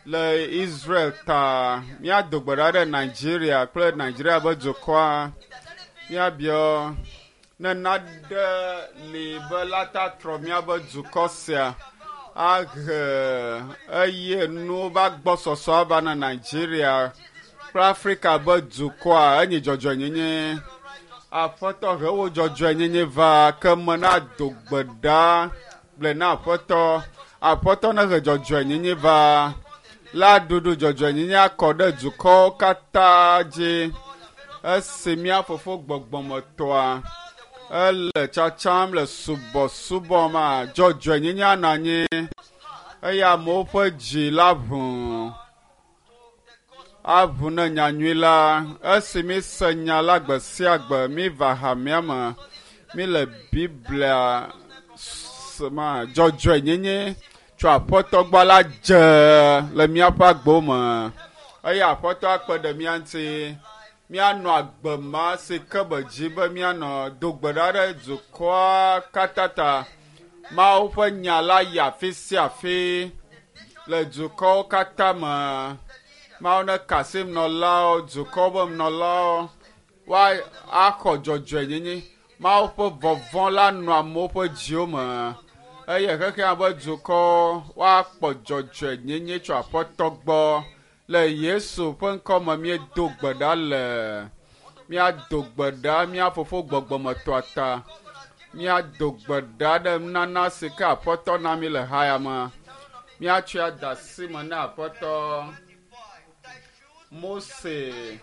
Le Israel ta míado gbe ɖa ɖe Nigeria kple Nigeria ƒe dukɔa. Míabiɔ ne naɖe li be la ta trɔ míaƒe dukɔ sia ahe eye nuwo va gbɔsɔsɔ ava na Nigeria kple Afrika ƒe dukɔa enye dzɔdzɔenyenye. Aƒetɔ he wo dzɔdzɔenyenye va ke me na do gbe ɖa gblɔe na aƒetɔ. Aƒetɔ nehe dzɔdzɔenyenye va la ɖuɖu dzɔdzɔenyenye akɔ ɖe dukɔwo katã dzi. Esi mía fofo gbɔgbɔmetɔa ele tsatsam le subɔsubɔ ma dzɔdzɔenyenye anɔ anyi eye amewo ƒe dzi la ʋu aʋu ne nyanyui la. Esi míse nya la gbe sia gbe míva hamea me míle Biblia ma dzɔdzɔenyenye tso aƒetɔ gbɔ la dze le míaƒe agbewo me eye aƒetɔ akpe ɖe mía ŋuti míanɔ agbe ma si ke be dzi be míanɔ do gbe ɖa ɖe dukɔa katã ta. Mawu ƒe nya la yi afi sia afi le dukɔwo katã me. Mawu ne ka asi nɔlawo, dukɔwo ƒe nɔlawo woa axɔ dzɔdzɔenyenye. Mawu ƒe vɔvɔ̃ la nɔ amewo ƒe dziwo me eye xexea ƒe dukɔwo woakpɔ dzɔdzɔenyenye tso aƒetɔ gbɔ. Le Yesu ƒe ŋkɔ me míedo gbe ɖa le. Míado gbe ɖa mía fofo gbɔgbɔmetɔa ta. Míado gbe ɖa ɖe nunana si ke aƒetɔ na mí le haya me. Míatsɔe ade asi me na aƒetɔ. Mose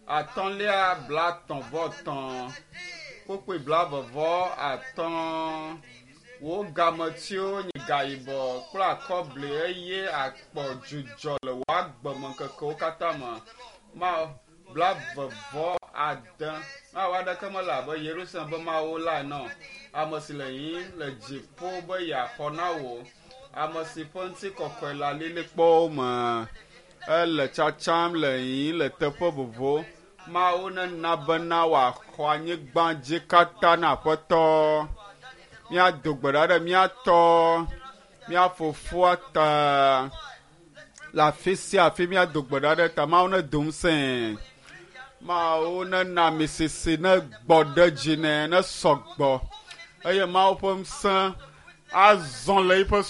atɔ̃lia 35 kpukpui 45 wo gametiwo nye gayibɔ kple akɔbli eye akpɔ dzudzɔ le wò agbemeŋkekewo katã me. Ma 26 Mawu aɖeke mele abe Yerusalem ƒe Mawu la ene o. Ame si le yiyim le dziƒo be yeaxɔ na wò. Ame si ƒe ŋutikɔkɔe le alilikpowo me. Ele tsatsam le yiyim le teƒe vovowo. Mawu nena bena wòaxɔ anyigba dzi katã na aƒetɔ. Míado gbe ɖa ɖe mía tɔ, mía fofoa ta. Le afi sia afi míado gbe ɖa ɖe ta. Mawu nedo ŋusẽe. Mawu nena amisisi ne gbɔ ɖe dzi nɛ ne sɔgbɔ eye Mawu ƒe ŋusẽ azɔ le eƒe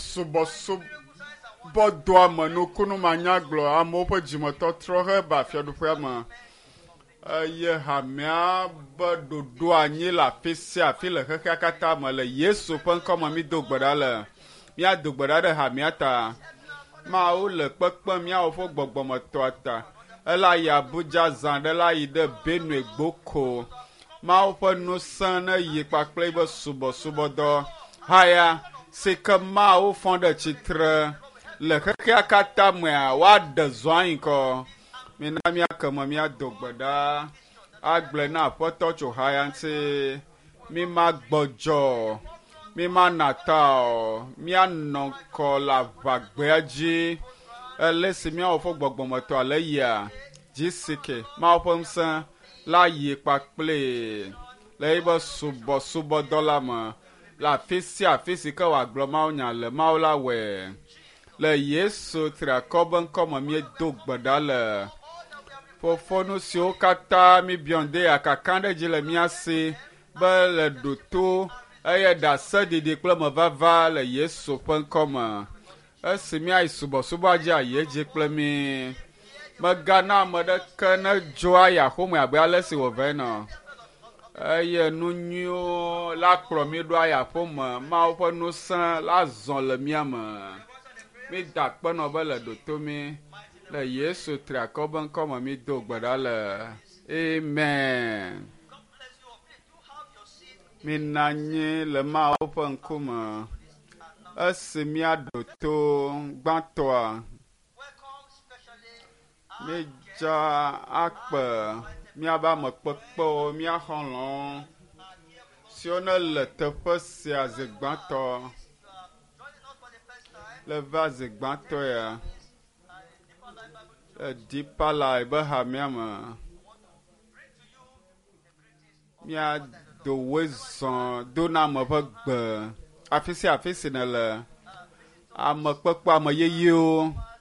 subɔsubɔdɔa me nukunu manyagblɔ amewo ƒe dzimetɔtrɔ heva fiaɖuƒea me eye hamea be ɖoɖo anyi le afi sia afi le xexea katã me le Yesu ƒe ŋkɔ me mído gbe ɖa le. Míado gbe ɖa ɖe hamea ta. Mawu le kpekpem míawo ƒe gbɔgbɔmetɔa ta. Ela yi Abuja zã ɖe la yi ɖe Benue Gboko. Mawu ƒe ŋusẽ ne yi kpakple eƒe subɔsubɔdɔ. Haya si ke Mawu fɔ ɖe tsitre le xexea katã mea, woaɖe zɔ anyi kɔ. Mina míake me míado gbe ɖa agblɔe na aƒetɔ tso haya ŋuti. Míma gbɔdzɔ, míma na ta o, míanɔ ŋkɔ le aʋagbea dzi. Ele si míawo ƒe gbɔgbɔmetɔ le yia GCK Mawu ƒe ŋusẽ la yi kpakplee le eƒe subɔsubɔdɔ la me le afi sia afi si ke wòagblɔ mawunya le Mawu la wɔe. Le Yesu triakɔ be ŋkɔ me míedo gbe ɖa le. Fofo nu siwo katã míbiɔ ŋde akaka ɖe dzi le mía si be le ɖoto eye ɖaseɖiɖi kple mevava le Yesu ƒe ŋkɔ me. Esi míayi subɔsubɔa dzi ayi edzi kple mí. Megana ame ɖeke nedzo ayi axome abe ale si wòva ene o. Eye nu nyuiwo la kplɔ mí ɖo ayi aƒeme. Mawu ƒe ŋusẽ la zɔ le mía me. Mída akpe nɔ be le ɖoto mí. Le Yesu triakɔ be ŋkɔ me mído gbe ɖa le. Amen. Mina anyi le Mawu ƒe ŋkume. Esi míaɖo to gbãtɔa, míedza akpe míaƒe ame kpekpewo, mía xɔlɔ̃wo siwo ne le teƒe sia zi gbãtɔ le va zi gbãtɔ ya le Deeper Life be hamea me. Míado woe zɔ do na ame ƒe gbe afi sia afi si nèle. Ame kpekpe ame yeyewo.